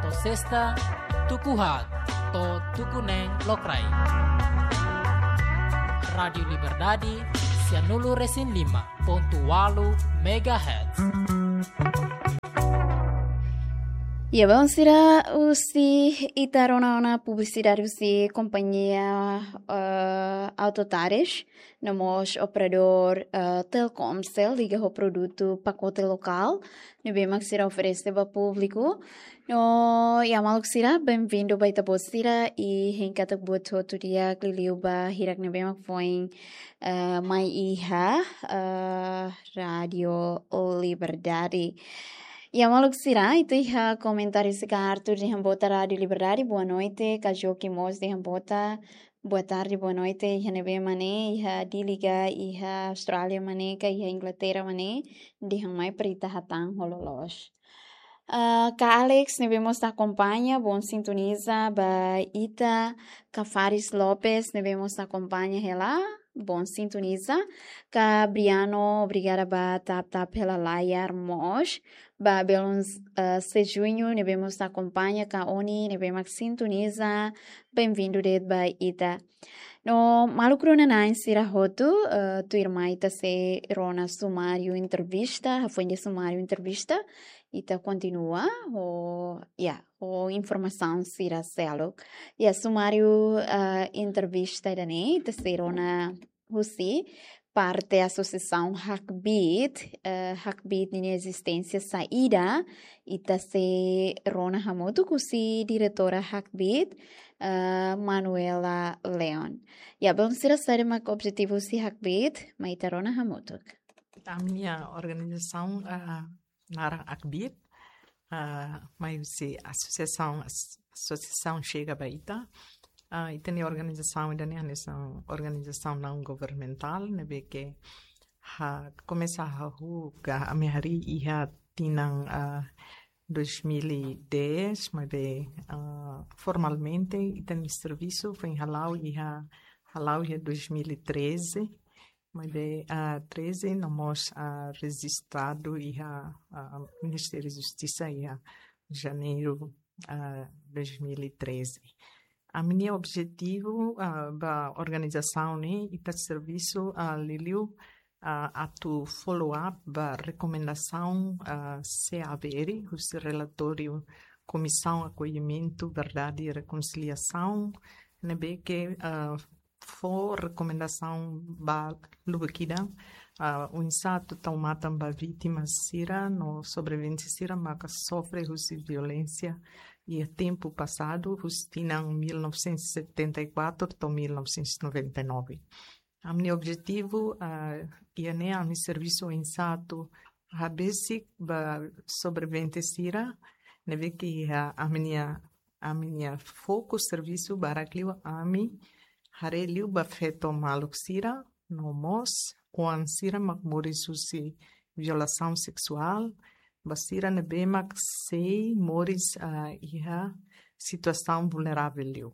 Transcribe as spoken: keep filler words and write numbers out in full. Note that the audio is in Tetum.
Sesta, tuku haat to'o tuku neen lokraik. Rádiu Liberdade, sianulu resin lima pontu walu megahertz. Ya, bainhira husi ita rona ona publisidade husi kompañia, eh, Autotares, no mós operadór, eh, Telkomcel, liga ho produtu pakote lokál ne'ebé mak sira oferese ba públiku. No, ya maluk sira, benvindu ba ita-boot sira, i hein katak buat hotu di'ak liuliu ba hirak ne'ebé mak foin, eh, mai iha, eh, Rádiu Liberdade. Ya maluk sira, ita iha komentáriu husi Arthur dehan boa tarde Rádiu Liberdade, boa noite, Kajoki mós dehan boa ta-, boa tarde, boa noite, iha ne'ebé mak ne'e, iha Dili ka, iha Austrália mak ne'e ka, iha Inglaterra mak ne'e, dehan mai para ita hatán ho loloos. Ah, Ka Alex, ne'ebé mós ita akompaña, bom sintoniza ba ita, Ka Faris Lopes, ne'ebé mós ita akompaña hela, bom sintoniza, Ka Briano, obrigada ba tap-tap hela layar mós, ba Belun, eh, Sejuño, ne'ebé mós ita akompaña, Ka Oni, ne'ebé mak sintoniza, benvindu de'it ba ita. No, maluk rona-na'in sira hotu, eh, tuirmai ita sei rona sumáriu entrevista, hafoin de'it sumáriu entrevista, ita kontinua, ho, ya, ho informasaun sira seluk. Ya, sumáriu, eh, entrevista ida-ne'e, ita sei rona husi parte asosiasaun Hakbiit, eh, Hakbiit ninia ezisténsia saida, ita sei rona hamutuk husi diretora Hakbiit, eh, Manuela Leon. Ya, bainhira saida mak objetivu husi Hakbiit, mai ita rona hamutuk. Ami-nia organizasaun, ah, naran Hakbiit, ah, mai husi asosiasaun, as-, asosiasaun Xega ba Ita. Ah, ita-nia organizasaun ida-ne'e hanesan organizasaun naun governamentál, ne'ebé ke ha-, komesa hahú ka ami harii iha tinan, ah, dois mil e dez, maibé, ah, formalmente ita-nia servisu foin hala'o iha, hala'o iha dois mil e treze, maibé, ah, treze no mós, ah, rejistradu iha, ah, Ministériu Justisa iha janeiru, ah, dois mil e treze. Ami-nia objetivu, ah, ba organizasaun ne'e, ita servisu, ah, liuliu, ah, atu follow up ba rekomendasaun, ah, C A V R, husi relatóriu Komisaun Akollimentu, Verdade i Rekonsiliasaun, ne'ebé ke, ah, fó rekomendasaun ba lubuk ida, ah, oinsá atu tau matan ba vítima sira no sobrevivente sira maka sofre husi violénsia iha tempu pasadu, husi tinan mil novecentos e setenta e quatro to'o mil novecentos e noventa e nove. Ami-nia objetivu, ah, iha ne'e ami servisu oinsá atu habesik ba sobrevivente sira, ne'ebé ke iha ami-nia, ami-nia foku servisu barak liu ami haree liu ba feto maluk sira, no mós oan sira mak moris husi violasaun seksuál, ba sira ne'ebé mak sei moris, ah, iha situasaun vulneravel liu.